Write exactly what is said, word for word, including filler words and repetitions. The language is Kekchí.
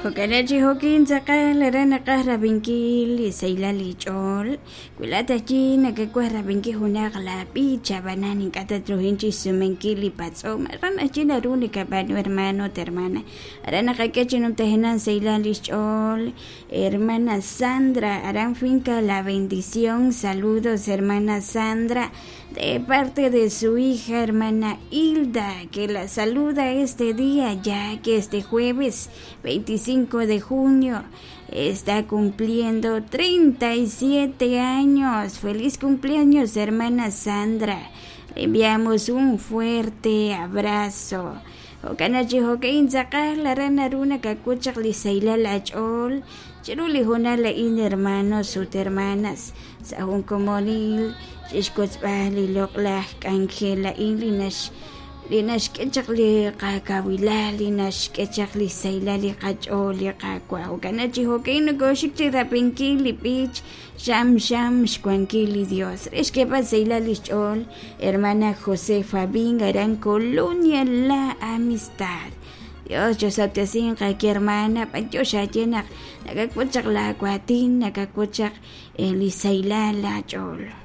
Jo'kanachi jo'kin tz'aqal aran naqaj rab'inkil li sahilal li ch'ool wi laa'at ajwi' nakawaj rab'inkil junaq la b'ich ab'anan ink'a' tatruhin chixsumenkil li patz'om aran ajwi' naru nakab'aanu hermano ut hermana aran naqak'e chi numtajenaq sahilal li xch'ool hermana Sandra aran finca La Bendición. Saludos, hermana Sandra, de parte de su hija hermana Hilda, que la saluda este día, ya que este jueves veinticinco de junio está cumpliendo treinta y siete años. Feliz cumpleaños, hermana Sandra. Le enviamos un fuerte abrazo. Jo'kanachi jo'ka'in tz'aqal aran naru nakak'ut chaq li sahilal ach'ool chiru li hoonal a'in, hermanos ut hermanas, sa' jun komonil chixkotzb'al li loq'laj k'anjel a'in li nax li naxk'e chaq li qakawilal li naxk'e chaq li sahilal li qach'ool li Qaawa'. Jo'kanachi jo'ka'in nokoxik chi rab'inkil li b'ich xam xam xwankil li Dios re xk'eeb'al sahilal li xch'ool hermana José Fabín aran Colonia La Amistad. Dios chosab'tesinq aki hermana b'antiox aye naq nakak'ut chaq la waatin nakak'ut chaq li sahilal laach'ool.